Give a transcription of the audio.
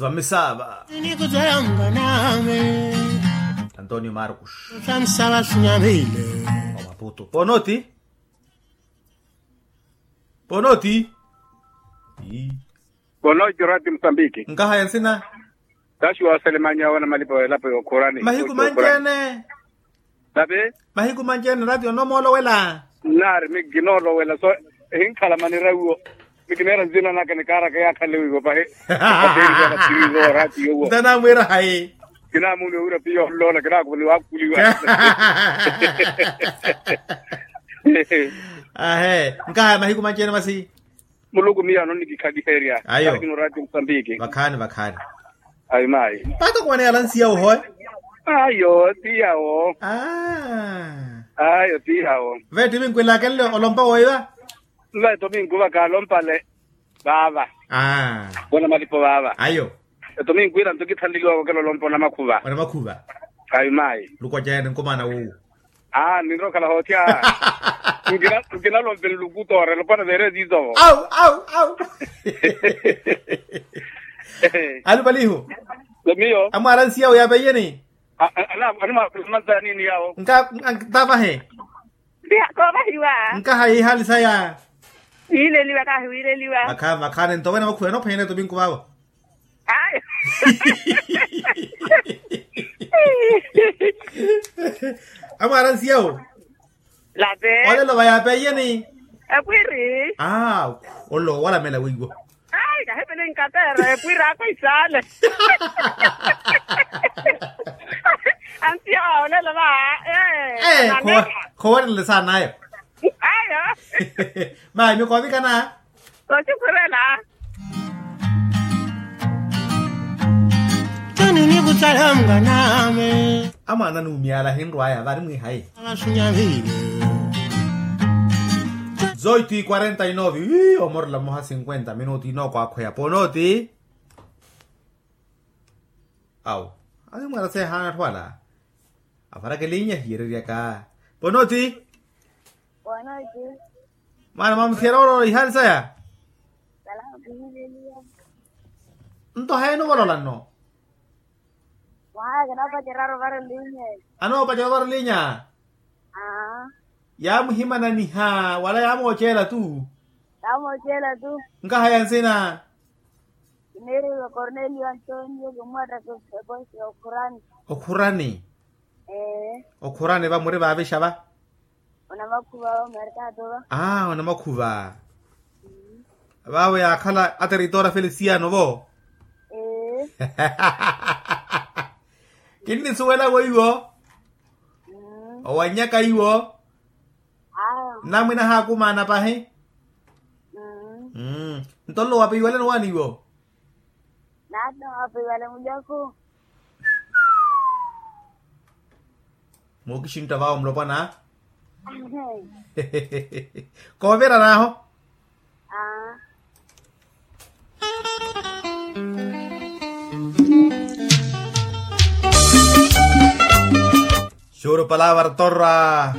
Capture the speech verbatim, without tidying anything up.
Vamisaava. Antonio marcos, vamisaava sinyamile. Omaputu ponoti. Ponoti. Ponoti rati musambiki. Nkahaya nsina. Taxi wa selemanya wana malipo elapo yokhurani. Mahiku manjene. Tapi. Mahiku manjene rati onomoolowela. Nari mi kinoolowela so. Hinkhala manira wiwo. Mi kinera nzina naka nikaaraka yakhale wiwo pahi. Rati yowo. Ntanamwira hayi. Kinaamuni owira piya ollola kinaakuvuni waakhuliwa. Ahe. Nkahaya mahiku manjene masi. Muluku miyo anonnikikhaliherya. Ayo. Kari kino rati musambiki. Vakhaani vakhaani. Ayi mayi. Mpata okuwaneya alansiya ohoya. Ayo ti yawo. Ayo ti yawo. Veeti vinkwilaakenle olompa woiwa. Veeti ovinkuva kaalompale. Vaava. Aa. Wana malipo vaava. Ayo. Eto minkwila nto kithanleliwaka okela olompa onamakhuva. Onamakhuva. Ayi mayi. Lukoceene nkumaana wuwo. Aa ninrokhala hootya. Nkinalompe nlukutoore lopana veere ziizovo. Au au au. Alupalihu. Miyo amwaala nsiyawo yaapeiyeni. Animamanzanini yawo. Nka. Ntavahe. Koovahiwa. Nkaha ihaali saya. Wiileliwa kahi wiileliwa. Vakhaani vakhaani nto wena vakhuwene ophenyene topinku vaavo. Ayo. Amwaara nsiyawo. Lape olelo vayapeiyeni. Epwiri. Aa. Olelo walamela wiiwo. Ai kahepele nkapeera epwiri ako isaale. Ansiyawo olelo va. Ee. Khowerelele saana ayo. Ayo. Mayi mikoovikana. Kosikhurela. Toni nikutsala mwaname. Amwaana nuumyala ahinrwaya vari mwihayi. Avasunyavile. Zoitu i quarenta y nove wi omorela mmoha cinquenta minutu inookwaakhweya ponoti. Awo. Asimwala seehaana atthu ala. Avarakele inya hiyereryaka. Ponoti. Ponoti. Mwaana mwamuthiyela olola ihaali saya. Nto hayi enuvolola nno. Mwaha kinapacerya ovara linya. Anoopacela ovara linya. Yaamuhimananiha wala yaamooceela tu. Yaamooceela tu. Nkahaya nsina. Kineeriwa cornelio antonio kimwattaka. Okhurani. Okhurani. Ee. Okhurani va muri vaavixa va. Onamakhuva omerkaato va. Aa onamakhuva. Vaavo yaakhala ateritoora felisiano vo. Ee. Kinnisuwela weiwo. Owannyaka iwo. Namwina haakumaana pahi. Nto nlo wapiwale nowaani iwo. Naatno wapiwale mulyaku. Mookixintta vawo mulopwana. Koovirana aho. Xuru palavra torra.